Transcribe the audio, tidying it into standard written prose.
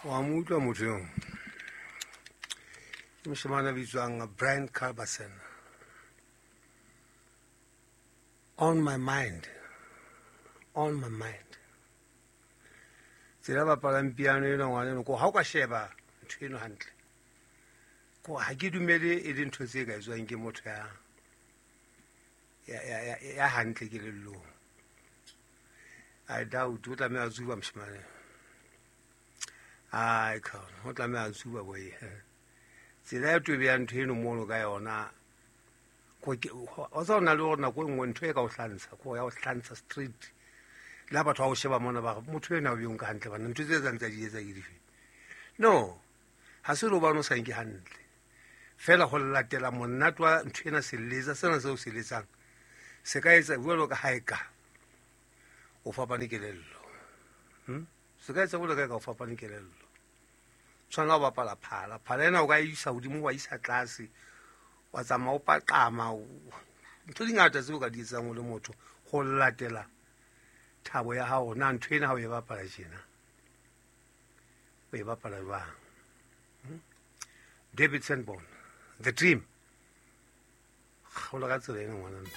Wa mo utlwa motho eo, ke moshemane a bitswang Brian Culberson, "On My Mind", "On My Mind". Tsela bapalang piano eno, ngwana eno, ko ha o ka sheba ntho eno hantle, ko ha ke dumele e le ntho tse ka etswang ke motho ya hantle kelellong. I doubt. O tlameha a tsuba moshemane. Ai khona o tlameha a tsuba boy. Tsela ya tobe ya ntho eno mono ka yona, o tsa o na le gore nako e nngwe ntho e ka o hlantsha, ko ya o hlantsha straight. Le ha batho ba o sheba mona, ba re motho ena o beng ka hantle bana, ntho tse etsang tsa di etsa ke dife? No, ha se le hobane o sa nke hantle fela, go latela monate wa ntho ena. Seletsa sena seo se letsang se ka etsa jwalo ka ha e ka o fapane kelello. Se ka etsa jwalo ka e ka o fapane kelello. Tshwana o bapala phala, phala ena o ka isa hodimo, wa isa tlase, wa tsamaya o paqama, ntho di ngata tseo o ka di etsang o le motho go latela thabo ya hao. Na ntho ena ha o e bapala tjena, o e bapala jwang? David Sanborn, "The Dream". Kgaola ka tsela ena, ngwana.